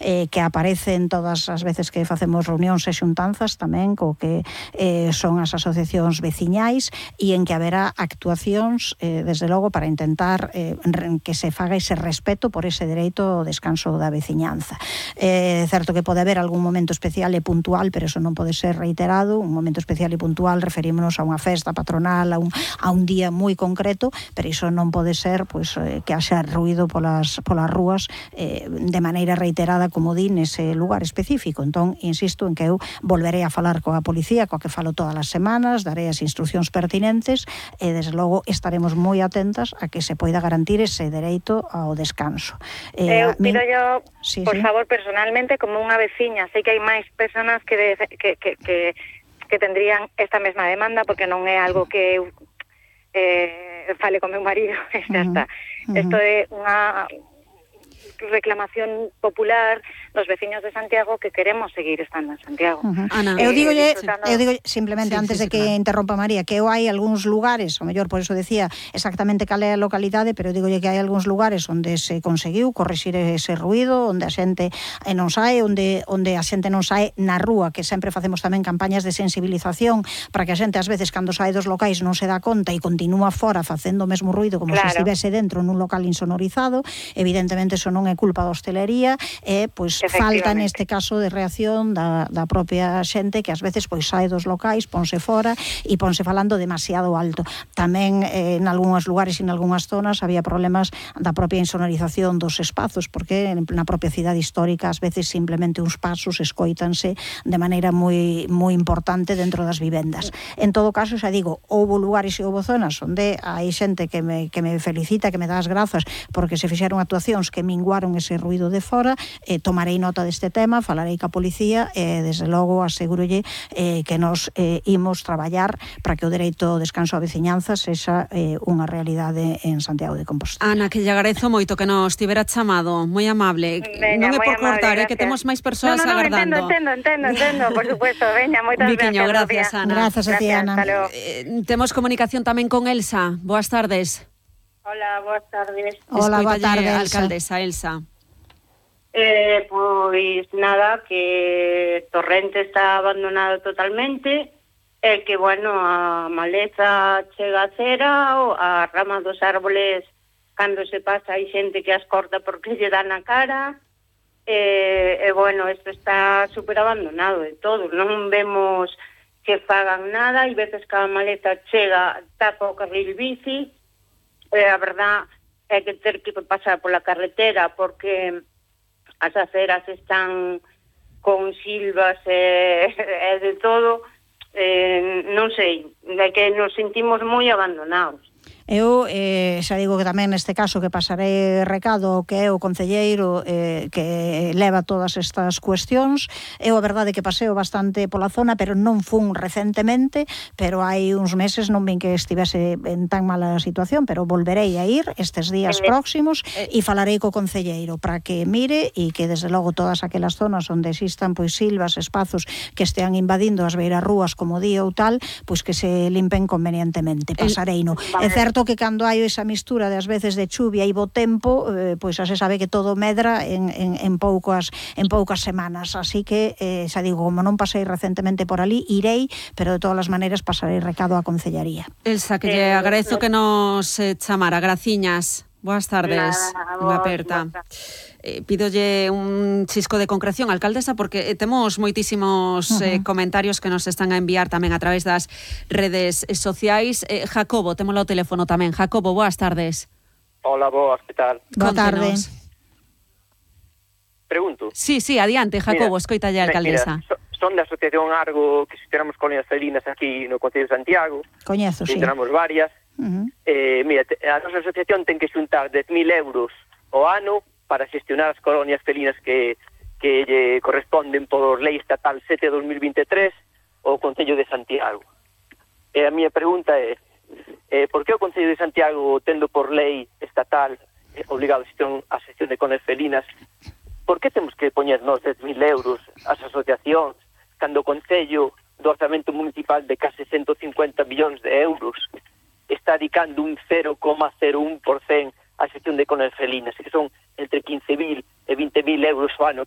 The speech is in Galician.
que aparecen todas as veces que facemos reunións e xuntanzas tamén co que son as asociacións veciñais e en que haberá actuacións desde logo para intentar que se faga ese respeto por ese dereito ao descanso da veciñanza. É certo que pode haber algún momento especial e puntual, pero eso non pode ser reiterado. Un momento especial e puntual referímonos a unha festa patronal, a un día moi concreto, pero iso non pode ser pois, que haxa ruído polas rúas de maneira reiterada, como di, nese lugar específico. Entón, insisto en que eu volverei a falar coa policía, coa que falo todas as semanas, darei as instruccións pertinentes e, desde logo, estaremos moi atentas a que se poida garantir ese dereito ao descanso. Eu pido yo, por favor, personalmente, como unha veciña, sei que hai máis personas que tendrían esta mesma demanda, porque non é algo que eu fale con meu marido, xa está. Isto é unha reclamación popular dos veciños de Santiago que queremos seguir estando en Santiago. Ana, eu digo simplemente antes de que interrompa María, que hai algúns lugares, o mellor por eso decía exactamente cal é a localidade, pero digolle que hai algúns lugares onde se conseguiu corrixir ese ruído, onde a xente non sae, onde a xente non sae na rúa, que sempre facemos tamén campañas de sensibilización para que a xente ás veces cando sae dos locais non se dá conta e continúa fora facendo o mesmo ruído como se estivese dentro nun local insonorizado. Evidentemente eso non é culpa da hostelería, pois falta neste caso de reacción da propia xente que ás veces pois sae dos locais, ponse fora e ponse falando demasiado alto. Tamén en algúns lugares e en algúnas zonas había problemas da propia insonorización dos espazos, porque na propia cidade histórica ás veces simplemente uns pasos escoítanse de maneira moi importante dentro das vivendas. En todo caso, xa digo, houbo lugares e houbo zonas onde hai xente que me felicita, que me dá as grazas porque se fixeron actuacións que minguaron ese ruído de fora. Tomarei nota deste tema, falarei ca policía e, desde logo, asegurolle que nos imos traballar para que o dereito ao descanso á veciñanza sexa unha realidade en Santiago de Compostela. Ana, que lle agradezo moito que nos tivera chamado, moi amable. Veña, non é por cortar, amable, que temos máis persoas agardando. Entendo, por supuesto. Veña, moitas gracias, Ana. Gracias a ti, Ana. Temos comunicación tamén con Elsa. Boas tardes. Hola, boas tardes. Hola, boa tarde, alcaldesa Elsa. Pois nada, que Torrente está abandonado totalmente, que, bueno, a maleza chega a cera, ou a rama dos árboles, cando se pasa hai xente que as corta porque lle dá na cara, bueno, isto está super abandonado de todo, non vemos que fagan nada, e veces que a maleza chega, tapa o carril bici, a verdad é que ter que pasar pola carretera porque as aceras están con silvas e de todo, non sei, é que nos sentimos moi abandonados. Eu xa digo que tamén neste caso que pasarei recado que é o concelleiro que leva todas estas cuestións. Eu a verdade que paseo bastante pola zona, pero non fun recentemente, pero hai uns meses non vin que estivese en tan mala situación, pero volverei a ir estes días próximos e falarei co concelleiro para que mire e que desde logo todas aquelas zonas onde existan pois silvas, espazos que estean invadindo as beirarrúas como día ou tal, pois que se limpen convenientemente. Pasareino. É certo que cando hai esa mistura de ás veces de chuvia e bo tempo, pois xa se sabe que todo medra en poucas semanas, así que xa digo, como non pasei recentemente por ali, irei, pero de todas as maneiras pasarei recado á concellaría. Elsa, que lle agradezo que nos chamara. Graciñas. Boas tardes. Unha aperta. Pídolle un chisco de concreción, alcaldesa, porque temos moitísimos comentarios que nos están a enviar tamén a través das redes sociais. Jacobo, témolo ao teléfono tamén. Jacobo, boas tardes. Hola, boas, que tal? Boa tarde. Pregunto. Sí, adiante, Jacobo, escoitalle a alcaldesa. Mira, son da Asociación Argo, que xestionamos colonias felinas aquí no Concello de Santiago. Coñezo, sí. Tenemos varias. Mira, a nosa asociación ten que xuntar 10.000 euros ao ano para xestionar as colonias felinas que lle corresponden por lei estatal 7/2023 ao Concello de Santiago. E a miña pregunta é, por que o Concello de Santiago, tendo por lei estatal obligado a xestión de colonias felinas, por que temos que poñer nos 10.000 euros as asociacións cando o Concello do orzamento municipal de case 150 millóns de euros está dedicando un 0,01% a xestión de colonias felinas, que son entre 15.000 e 20.000 euros ao ano